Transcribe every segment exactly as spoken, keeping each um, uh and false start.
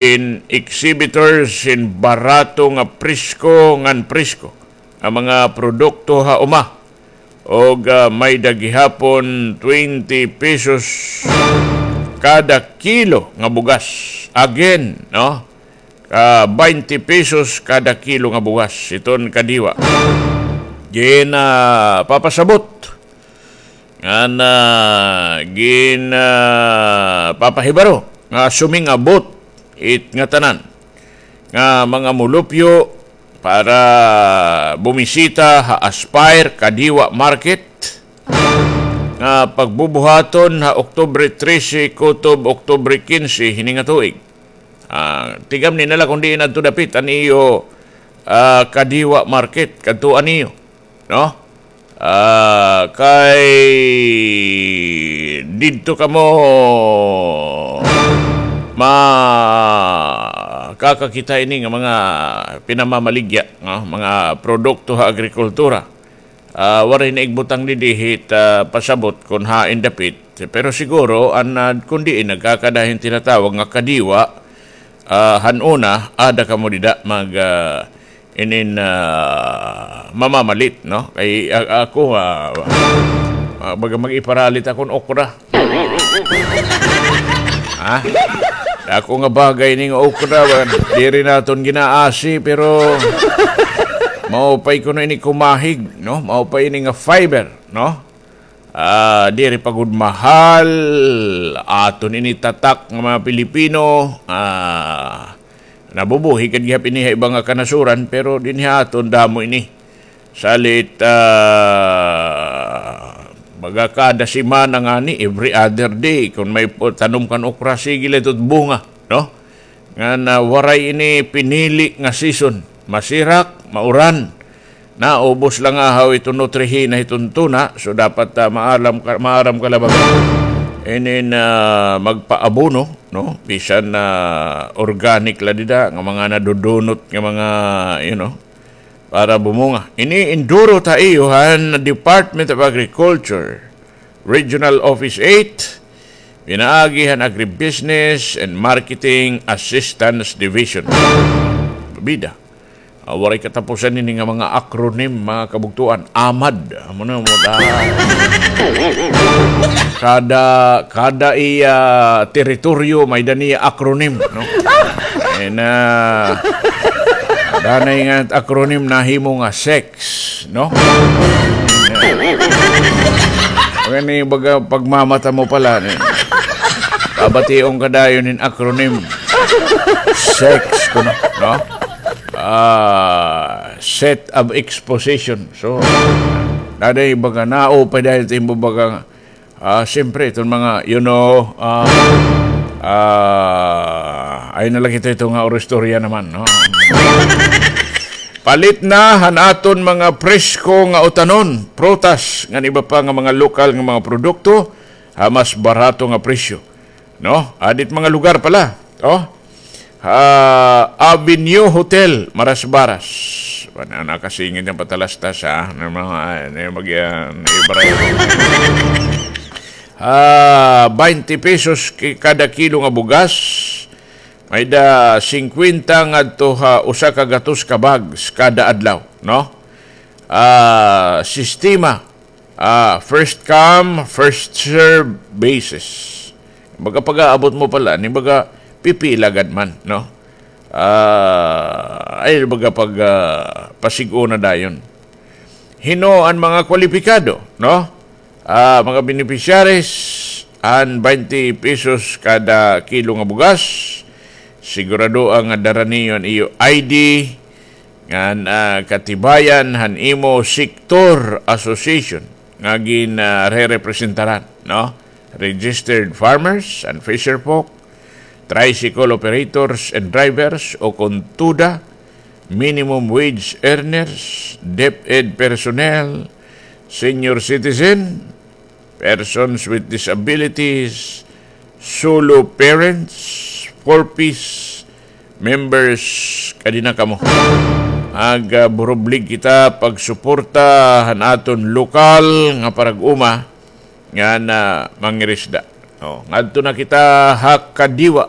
in exhibitors hin barato nga presko ngan presko nga mga produkto ha uma. Og, ah, may-ada gihapon twenty pesos kada kilo nga bugas. Again, no? Ah, twenty pesos kada kilo nga bugas. Iton kadiwa. Gin, ah, papasabot. Ngan, ah, gin, ah, papahibaro nga suming-abot it ngatanan nga mga mulupyo para bumisita ha Aspire Kadiwa Market nga pagbubuhaton ha Oktubre trese kutob Oktubre kinse hini nga tuig. Ah, tigamni na la kon diin adto dapit an iyo, ah, Kadiwa Market, kadtuan niyo, no? Ah, kay didto kamo makakakita ini nga mga pinamamaligya, no? Mga produkto ha agrikultura. Ah, waray na igbutang didi hit, ah, pasabot kon hain dapit. Pero siguro, an, ah, kon diin nagkakada hin tinatawag nga kadiwa, ah, han una, ada kamo dida mag, ah, inin, ah, mamamalit, no? Kay, a-, ako, ah, ah, baga mag-iparalit akon okra. Ha? Dako nga bagay ini nga okra, ba? Diri naton ginaasi, pero maupay kuno ini kumahig, no? Maupay ini nga fiber, no? Ah, diri pa gud mahal, aton ini tatak nga mga Pilipino, ah, nabubuhi gad gihap ini ha iba nga kanasuran, pero dinhi ha aton damo ini. Salit, ah, baga kada semana ngani, every other day, kon may pu-, tanom kan okra, sige la ito bunga, no? Ngan, ah, waray ini pinili nga season. Masirak, mauran. Naubos la ngahaw iton nutrihina hiton tuna, so dapat, ah, maalam ka, maaram ka la baga. Inin, ah, magpaabono, no? Bisan na organic la dida, nga mga nadudunot, nga mga, you know, para bumunga. Ini induro ta iyo han Department of Agriculture, Regional Office eight, pinaagi han Agribusiness and Marketing Assistance Division. Bida. Ah, waray katapusan ini nga mga acronym, mga kabugtuan. AMAD. Amo na mo, ah. Kada, kada iya teritoryo may-ada niya acronym, no? And, ah, danay nga acronym nahimo nga SEC, no? Kani baga pagmamata mo pala, ni. Pabation ka dayon hin acronym. SEC kuno, no? Ah, set of exposition. So, naday baga naupay dayon it imo baga, ah, siyempre, iton mga, you know, ah, ah, ay na la kita ito nga oristorya naman, no? Palit na han aton mga presko nga utanon, prutas, ngan iba pa nga mga lokal nga mga produkto, ha mas barato nga presyo. No? Adit mga lugar pala. Oh. Ah, Avenue Hotel, Marasbaras. Ano, nakasingit nga patalastas, ha? Ano, mga, ano, mag, ah, ibaray. Ah, twenty pesos ki-, kada kilo nga bugas. May-ada singkwenta ngadto ha usa ka gatos ka bags kada adlaw, no? Ah, sistema, ah, first come, first serve basis. Baga pag-aabot mo pala, ni baga pipila gad man, no? Ah, ay, baga pag, ah, pasig-o na dayon. Hin-o an mga kwalipikado, no? Ah, mga beneficiaries, an twenty pesos kada kilo nga bugas, siguradoa nga dara niyo an iyo I D, ngan, ah, katibayan han imo sektor association nga gin, ah, rerepresentaran, no? Registered farmers and fisherfolk, tricycle operators and drivers, o kon TUDA, minimum wage earners, DepEd personnel, senior citizen, persons with disabilities, solo parents, four Ps members, kadi na kamo. Mag, ah, burublig kita pagsuporta han aton lokal nga parag-uma nga na mangirisda. Oh, ngadto na kita ha kadiwa.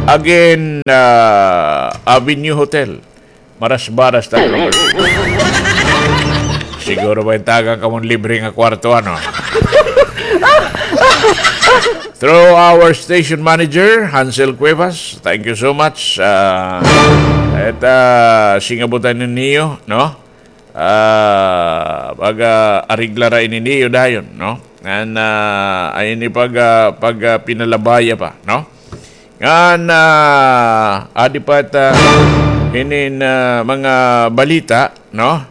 Again, ah, Avenue Hotel. Marasbaras ta, Robert. Siguro may tagan kamo hin libre nga kwarto, ano? Through our station manager, Hansel Cuevas, thank you so much. Ah, it, ah, singabutan niyo, no? Ah, pag, ah, ariglara ini niyo dayon, no? Ngan, ah, ay ini pag, ah, pag, ah, pinalabaya pa, no? Ngan, ah, adi pa ta hinin, ah, mga balita, no?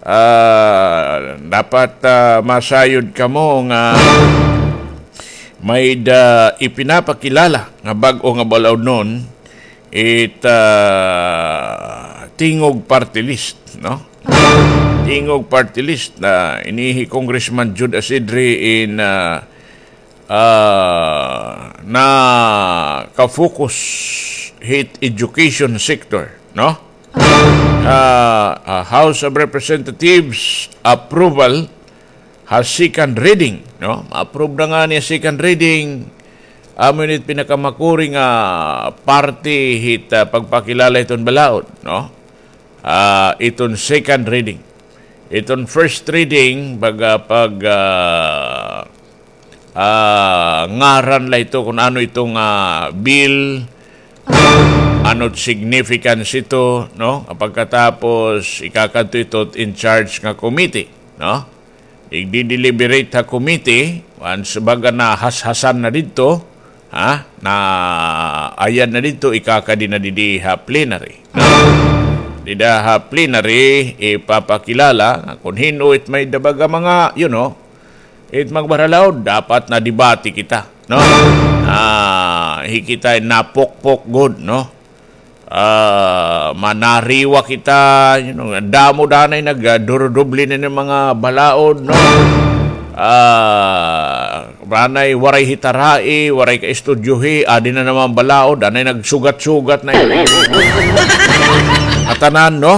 Ah, dapat, ah, masayod kamo nga may-ada ipinapakilala nga bag-o nga balaod noon, it, ah, Tingog Party List, no? Tingog Party List na ini hi Congressman Jude Asidre in, ah, ah, naka-focus hit education sector, no? Ah, ah, House of Representatives approval ha second reading, no? Ma-approve na ngani ha second reading. Amo ini it pinakamakuri nga parte hit, ah, pagpakilala hiton balaod, no? Ah, iton second reading. Iton first reading, baga pag, ah, ah, ngaran la ito kun ano iton, ah, bill, ano it significance ito, no? Pagkatapos, ikakadto ito in charge nga committee, no? Igdi-deliberate ha committee, once baga nahashasan na didto, ha? Naayan na didto, ikakadi na didi ha plenary, no? Dida ha plenary, ipapakilala nga kun hin-o it may-ada baga mga, you know, it magbaralaod, dapat na debate kita, no? Ah, hi kita napukpok gud, no? Ah, manariwa kita, you know, damo danay nag, ah, durudoble na nga mga balaod, no? Ah, danay waray hitarai, waray kaistudyohi, adi na naman balaod, danay nagsugat-sugat na. Ngatanan, no?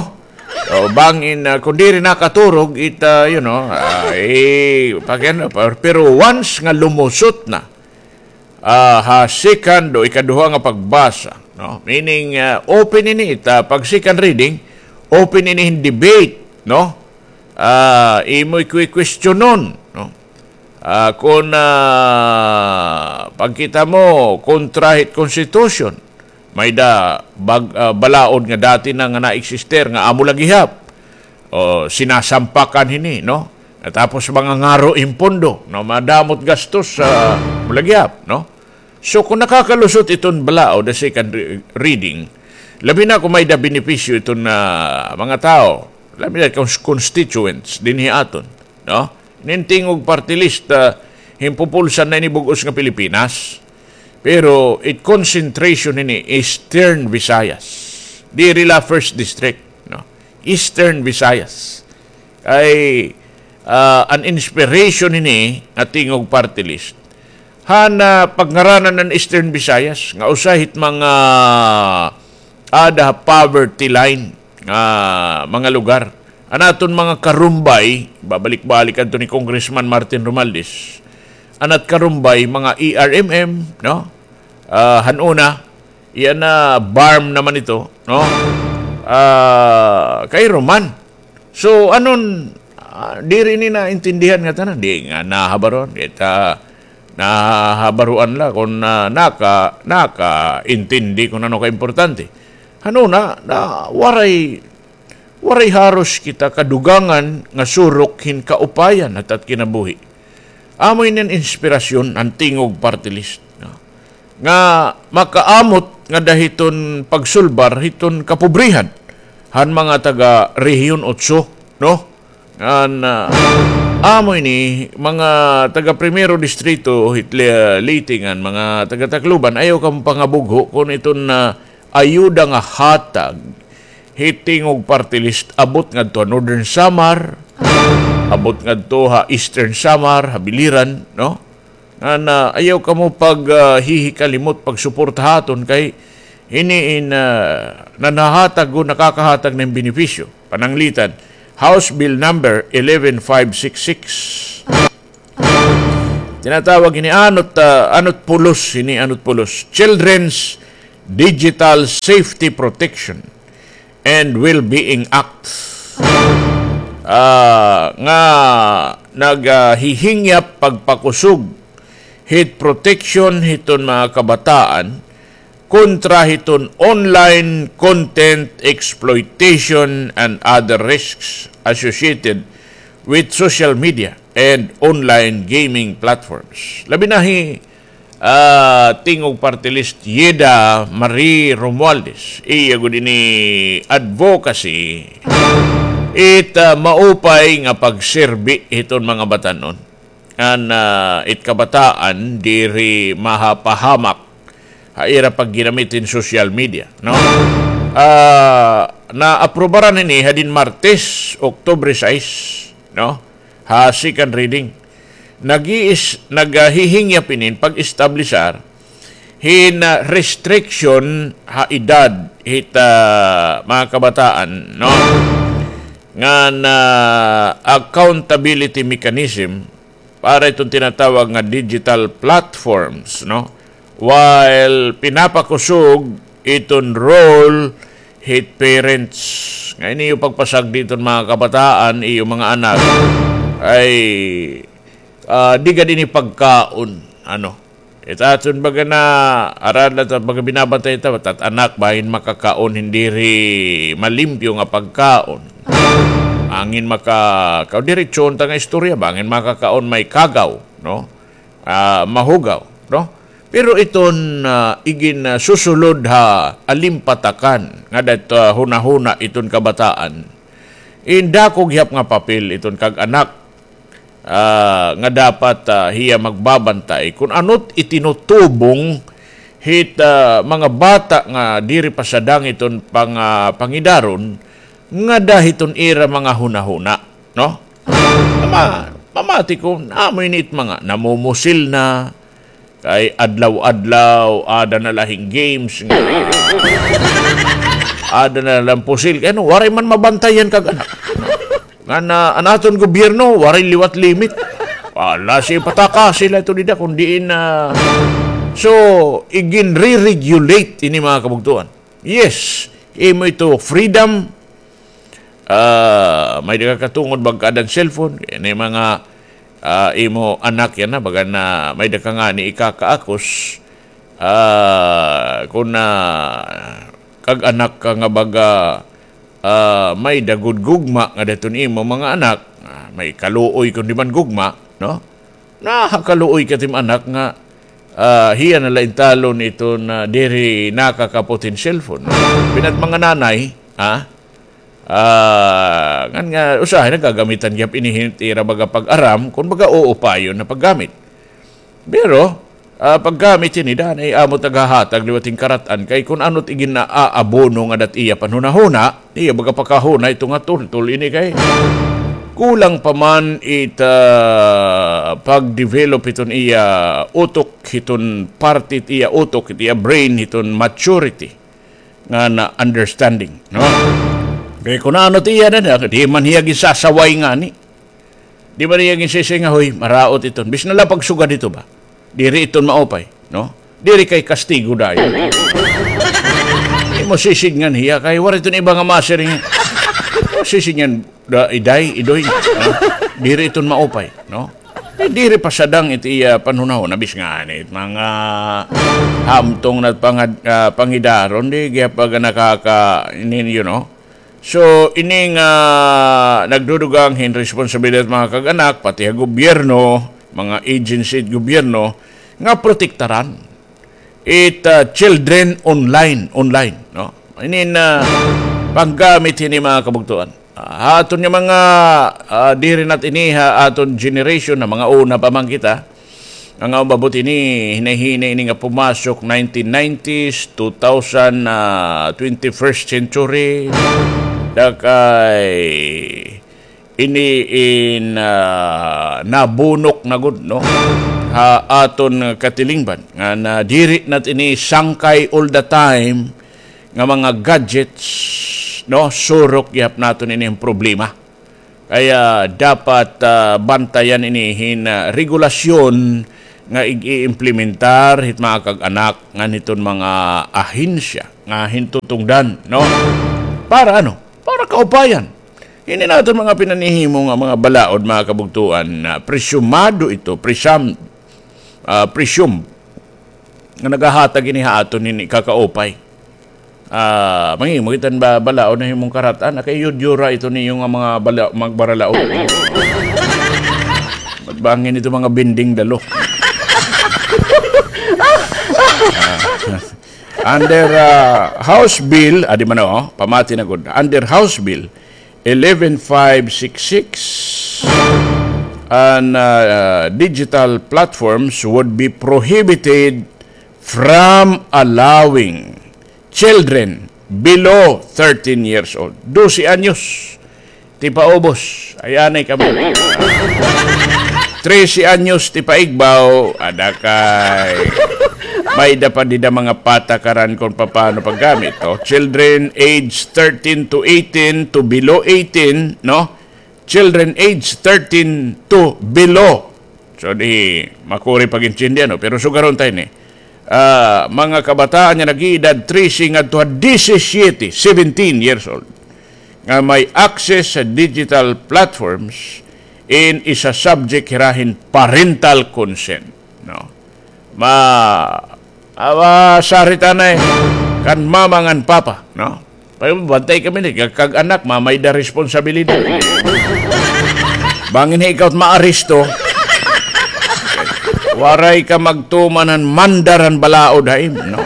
O, bangin, ah, kun diri nakaturog, it, ah, you know, ah, eh, pag-, ano, pa-, pero once nga lumusot na, ah, ha second o ikaduha nga pagbasa, no? Meaning, ah, open ini, it, ah, pag second reading, open ini hin debate, no? Ah, imo ikwi-questionon, no? Ah, kun, ah, pagkita mo, kontra hit constitution, may-ada bag-, ah, balaod nga dati na nga na-exister nga amo la gihap. O, sinasampakan hini, no? Tapos mga ngaro in pondo, no? Madamo it gastos, ah, amo la gihap, no? So, kung nakakalusot iton balaod ha second re-, reading, labi na kung may-ada benepisyo iton, ah, mga tawo, labi na cons-, constituents dinhi aton, no? Inin Tingog Party List, ah, hin pupulsan na ini bug-os nga Pilipinas. Pero it concentration ini Eastern Visayas. Diri la First District, no? Eastern Visayas. Kay, ah, an inspiration ini nga Tingog Party List. Han, ah, pagngaranan an Eastern Visayas, nga usa hit mga ada ha poverty line nga mga lugar. An aton mga karumbay, babalik-balik adto ni Congressman Martin Romualdez. An at karumbay, mga E R M M, no? Ah, han una, iyan na BARMM naman ito, no? Ah, kay Roman. So, anon, ah, diri ni naintindihan nga tanan. Di nga nahabaruan. Kita nahabaruan la kung, ah, naka-, nakaintindi kung ano kaimportante. Han una, na waray, waray haros kita kadugangan nga surok hin kaupayan ha it at kinabuhi. Amo ini an inspirasyon han Tingog Party List, no? Nga makaamot ngada hiton pagsulbar hiton kapobrihan han mga taga Rehiyon Otso, no? Ngan, ah, amo ini, mga taga Primero Distrito hit Le-, Leyte ngan mga taga Tacloban, ayaw kamo pangabugho kun iton, ah, ayuda nga hatag hit Tingog Party List abot ngadto ha Northern Samar, abot ngadto ha Eastern Samar, ha Biliran, no? Ngan, ah, ayaw kamo pag, ah, hihikalimot pagsuporta ha aton kay hini in, ah, nanhahatag o nakakahatag hin benepisyo. Pananglitan, House Bill number eleven five six six. Tinatawag ini anot, ah, anot pulos, ini anot pulos. Children's Digital Safety Protection and Wellbeing Act, ah, nga naghihingyap pagpakusog hit protection hiton mga kabataan kontra hiton online content exploitation and other risks associated with social media and online gaming platforms. Labi na hi ah, Tingog Party List Yeda Marie Romualdez. Iya gud ini advocacy it, ah, maupay nga pagserbi hiton mga batan-on ngan, ah, it kabataan diri mahapahamak ha ira pagginamit hin social media, no? Ah, naaprubaran ini hadin Martes, Oktubre sais, no? Ha second reading. Nag-iis-, naghihingyap inin pag-establisar hin, ah, restriction ha edad hit, ah, mga kabataan, no? Ngan, ah, accountability mechanism para iton tinatawag nga digital platforms, no? While pinapakusog iton role hit parents. Nga ini iyo pagpasagdi iton mga kabataan, iyo mga anak, ay, ah, di gad ini pagkaon, ano. It aton baga na, arad la ta baga binabantay ta, it at anak, bangin makakaon hin diri malimpyo nga pagkaon. Bangin maka-, kaw diretsohon ta nga istorya, bangin makakaon may kagaw, no? Ah, mahugaw, no? Pero iton, ah, igin, ah, susulod ha alimpatakan nga dat, ah, hunahuna iton kabataan. Indako gihap nga papel iton kag-anak, ah, nga dapat, ah, hiya magbabantay kun ano't itinutubong hit, ah, mga bata nga diri pa sadang iton pang-, ah, pangidaron ngada hiton ira mga hunahuna, no? Mama-, mamati ko, amo ini it mga namumusil na, kay adlaw-adlaw, ada na la hin games, nga ada na la hin pusil. Kay ano, waray man mabantayan kag-anak. Ngan an aton gobyerno, waray liwat limit. Wala siya pataka sila ito dida, kun diin na. So, igin-re-regulate ini mga kabugtuan. Yes, imo ito freedom. Ah, may-ada ka katungod magkaada hin cellphone. Kay ini mga, ah, imo anak yana, baga na may-ada ka ngani ikakaakos. Ah, kun, ah, kag-anak ka nga baga, ah, may-ada gud gugma ngada hiton imo mga anak, ah, may kaluoy kun di man gugma, no? Nakakaluoy ka tim anak nga, ah, hiya na la intalon iton, ah, diri nakakapot hin cellphone. Pinat mga nanay, ha? Ah, ngan nga usahay nagagamitan gihap ini hin ira baga pag-aram, kun baga uupayon na paggamit. Pero, ah, paggamit ini, danay amo taghahatag liwat hin karat-an, kay kun ano't igin-aabono ngada hit iya panhunahuna, iya baga pakahuna ito nga tultol ini kay kulang pa man it, ah, pag-develop hiton iya utok, hiton parte hit iya utok, hit iya brain, hiton maturity nga na understanding, no? Kay kun ano't iya na, di man hiya ginsasaway ngani. Di man hiya ginsisay nga, "Hoy, maraot iton." Bisan na la pagsugad ito ba? Diri iton maupay, no? Diri kay kastigo dayon. Di mo sisidngan hiya, kay waray iton iba nga masiring. Sisidngan, da, iday, idoy, no? Diri iton maupay, no? Kay diri pa sadang it iya panhunahuna, bis ngani it mga hamtong na pangad-, ah, pangidaron, di gihap baga nakaka-, ini, you know? So, ini nga nagdudugang hin responsibilidad mga kag-anak, pati ha gobyerno, mga agency hit gobyerno, nga protektaran it, ah, children online, online, no? Ini na paggamit hini mga kabugtuan. Ah, ha aton nga mga, ah, diri na ini ha aton generation na mga una pa man kita, nga umabot ini, hinay-hinay ini nga pumasok nineteen nineties, two thousand, ah, twenty-first century, da kay ini in, ah, nabunok na gud, no? Ha aton katilingban, nga na diri na ini sangkay all the time nga mga gadgets, no? Surok gihap naton ini hin problema. Kaya dapat, ah, bantayan ini hin, ah, regulasyon, nga ig-iimplementar hit mga kag-anak ngan hiton mga ahensya nga hintutungdan, no? Para ano? Para kaupayan. Ini naton mga pinanhihimo nga mga balaod, mga kabugtoan, na presyumado ito, presyam-, ah, presume nga nagahatag ini ha aton hini kakaupay. Ah, manghimo kita hin ba-, balaod na himong karat-an, kay yudyura ito niyo nga mga bala-, magbaralaod. Magbangin ito mga binding dalo. Ah, under, ah, House Bill, ah, di man, oh, pamati na gud. Under House Bill eleven five six six, and, ah, digital platforms would be prohibited from allowing children below thirteen years old. Dose anyos ti paubos. Ay, anay kamo. Trese anyos ti paigbaw. Ada kay may-ada pa dida mga patakaran kon papaano paggamit, oh. Children age thirteen to eighteen to below eighteen, no? Children age thirteen to below. So, di makuri pag-intindihan, no? Pero sugaron ta ini. Ah, mga kabataan nga nag-iedad trese ngadto ha disisiete, seventeen years old, nga may access sa digital platforms, in isa-subject hira hin parental consent, no? Ma-, ah, masarita na, eh, kan mama ngan papa, no? Pabantay kami ni, kag, kag-anak, ma, may-ada responsibilidad. Bangin ha ikaw it maaresto, waray ka magtuman han mandar han balaod ha imo, no?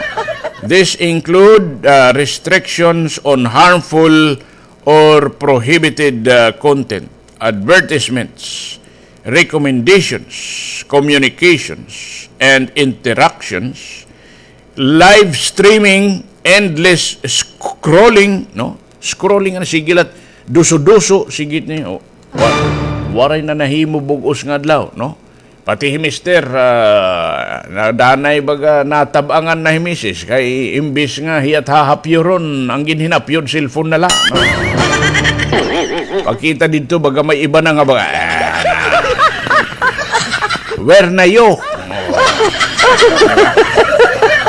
This include, ah, restrictions on harmful or prohibited, ah, content, advertisements, recommendations, communications, and interactions, live streaming, endless scrolling, no? Scrolling, ano, sige la it duso-duso, sige it ni, oh, wa-, waray na nahimo bug-os nga adlaw, no? Pati hi mister, ah, nadanay baga natab-angan na hi misis, kay imbis nga hiya it hahapyuron, an ginhinapyod, cellphone na la, no? Pakita didto, baga may iba na nga baga, ah, where na you?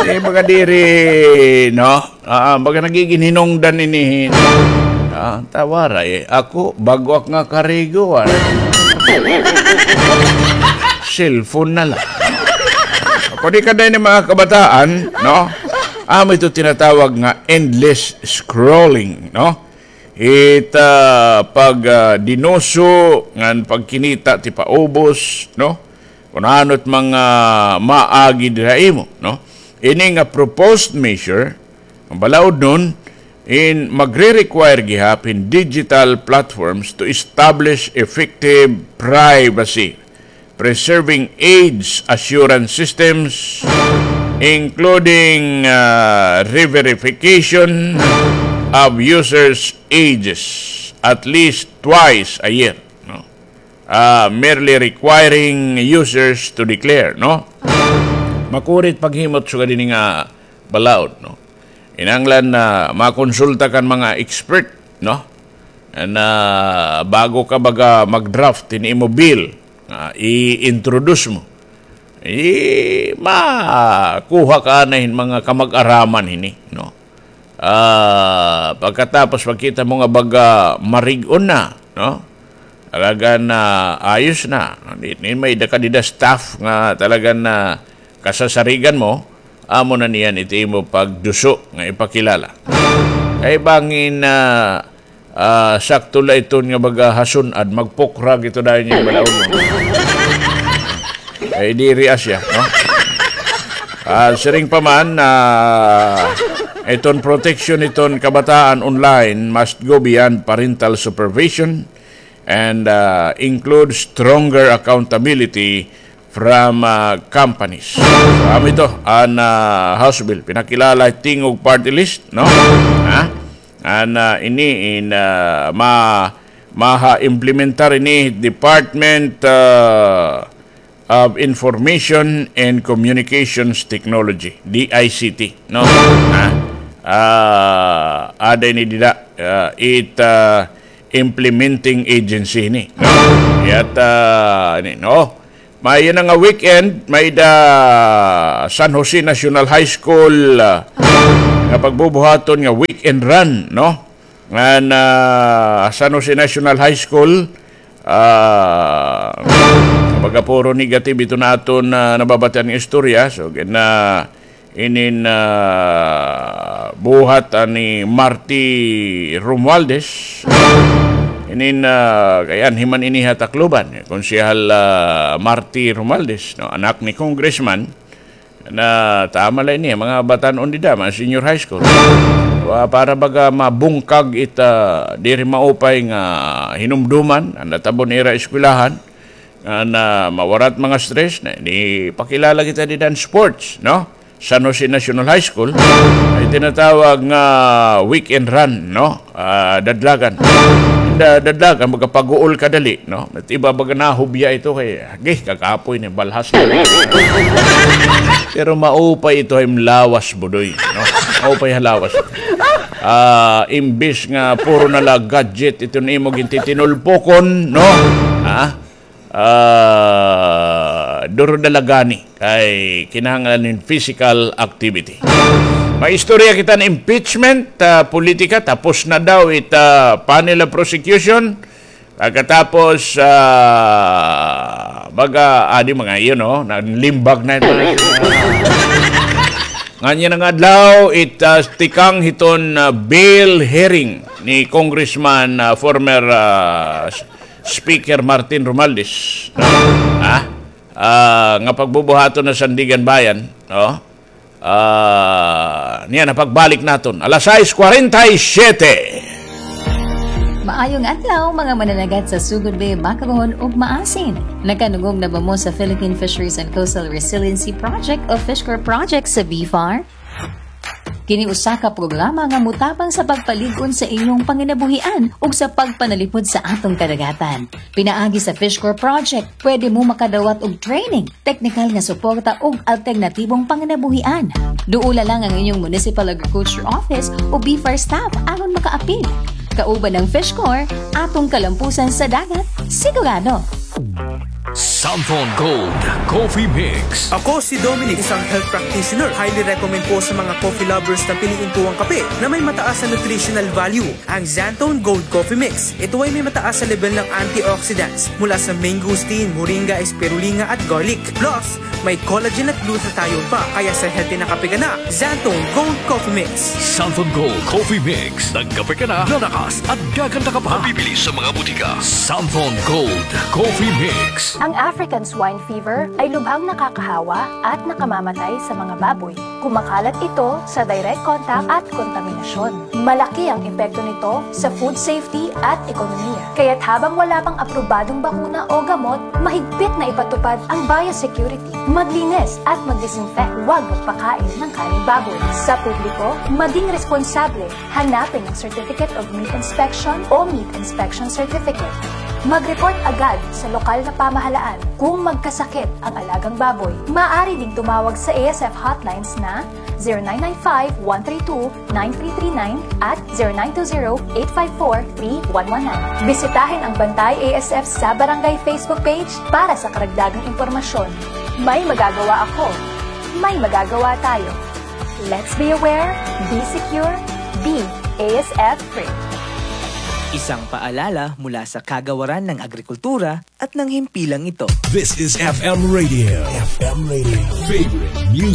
Di, baga diri, no? Ah, baga nagigin hinungdan ini hin-, ah, ta waray, eh. Ako, bag-o ak nga karigo, ah. Cellphone na la. Ako, di ka dayon ni mga kabataan, no? Amo ito tinatawag nga endless scrolling, no? It, ah, pag, ah, dinuso, ngan pagkinita ti paubos, no? Kun ano it mga maagi dida ha imo, no? Ini nga proposed measure, an balaod nun, in magre-require gihap hin digital platforms to establish effective privacy preserving age assurance systems, including, ah, re-verification of users' ages at least twice a year, no? Ah, merely requiring users to declare, no? Makuri it paghimo it sugad hini nga balaod, no? Kinahanglan na makonsulta ka han mga expert, no? Na bago ka baga mag-draft hin imo bill, ah, i-introduce mo. Eh, makuha ka anay hin mga kamag-araman hini, no? Ah, pagkatapos makita mo nga baga marig-on na, no? Talaga na ayos na. Di, di may-ada ka dida staff nga talaga na kasasarigan mo, amo na niyan it imo pagduso nga ipakilala. Kay bangin, ah, ah, sakto la iton nga baga ha sun-ad, magpukrag ito dayon nga balaod mo. Ay, diri asya, no? Ah, siring pa man, ah, iton protection iton kabataan online must go beyond parental supervision and, ah, include stronger accountability from, ah, companies. So, amo ito, an, ah, House Bill, pinakilala Tingog Party List, no? Ha? An, ah, ini in, ah, ma-, maha-implementar ini Department, ah, of Information and Communications Technology, D I C T, no? Ha? Ah, ada ini dida, ah, it, ah, implementing agency ini, no? Yat, ah, ini, no? May na nga weekend, may-ada San Jose National High School, ah, nga pagbubuhaton nga weekend run, no? Ngan San Jose National High School, ah, baga puro negative ito nga aton, ah, nababatian nga istorya. So, gin-, ah, inin, ah, buhat, ah, ni Marty Romualdez. Inin, ah, kay anhi man ini ha Tacloban, Konsehal, ah, Marty Romualdez, no, anak ni Congressman, na tama la ini, mga batan-on dida, mga senior high school. Wa, para baga mabungkag it, ah, diri maupay nga hinumduman an natabo nira eskwelahan, nga na mawarat mga stress, na, ipakilala kita dida han sports, no? San Jose National High School, may tinatawag nga weekend run, no? Ah, dadlagan. Da-, dadlagan, magkapag-uol kadali, no? At iba baga nahubya ito kay, agi, kakapoy ni balhas na. Pero maupay ito ha im lawas, Budoy, no? Maupay ha lawas. Ah, imbis nga puro na la gadget ito nga imo gintitinulpokon, no? Ha? Ah, duro na la gani kay kinahanglan hin physical activity. May istorya kita hin impeachment, ah, politika, tapos na daw it, ah, panel of prosecution. Pagkatapos, ah, baga, adi mga iyon, no? Nanlimbag na ito. Nganhi nga adlaw, it, ah, tikang hiton, ah, bail hearing ni Congressman, ah, former, ah, Speaker Martin Romualdez, no? Ha? Ah, nga pagbubuhaton na Sandiganbayan, no? Ah, niyan, pagbalik naton, alas sais kwarenta y siyete. Maayong adlaw, mga mananagat sa Sugod Bay, Bacagon, ug Maasin. Nakanungog na ba mo sa Philippine Fisheries and Coastal Resiliency Project o FishCorp Project sa BFAR? Kini usa ka programa nga motabang sa pagpalig-on sa inyong panginabuhian ug sa pagpanalipod sa atong kadagatan. Pinaagi sa FishCorp Project, pwede mo makadawat og training, teknikal nga suporta ug alternatibong panginabuhian. Duola lang ang inyong Municipal Agriculture Office o BFAR staff aron makaapil. Kauban ang FishCorp, atong kalampusan sa dagat, sigurado. Santhon Gold Coffee Mix. Ako si Dominic, isang health practitioner. Highly recommend ko sa mga coffee lovers na piliin ko ang kape na may mataas na nutritional value, ang Xanthone Gold Coffee Mix. Ito ay may mataas na level ng antioxidants mula sa mangosteen, moringa, spirulina at garlic. Plus, may collagen at glutathione pa, kaya sa healthy na kape ka na, Xanthone Gold Coffee Mix. Santhon Gold Coffee Mix. Nagkape ka na, lalakas at gaganda ka pa. Mabibili sa mga butika. Santhon Gold Coffee Mix. Ang African swine fever ay lubhang nakakahawa at nakamamatay sa mga baboy. Kumakalat ito sa direct contact at kontaminasyon. Malaki ang epekto nito sa food safety at ekonomiya. Kaya't habang wala pang aprobadong bakuna o gamot, mahigpit na ipatupad ang biosecurity. Maglinis at mag-disinfect. Huwag magpakain ng karneng baboy. Sa publiko, maging responsable. Hanapin ang Certificate of Meat Inspection o Meat Inspection Certificate. Mag-report agad sa lokal na pamahalaan kung magkasakit ang alagang baboy. Maaari ding tumawag sa A S F hotlines na zero nine nine five, one three two, nine three three nine at zero nine two zero, eight five four, three one one nine. Bisitahin ang Bantay A S F sa Barangay Facebook page para sa karagdagang impormasyon. May magagawa ako. May magagawa tayo. Let's be aware, be secure, be A S F free. Isang paalala mula sa Kagawaran ng Agrikultura at ng himpilang ito. This is F M Radio. F M Radio. Favorite music.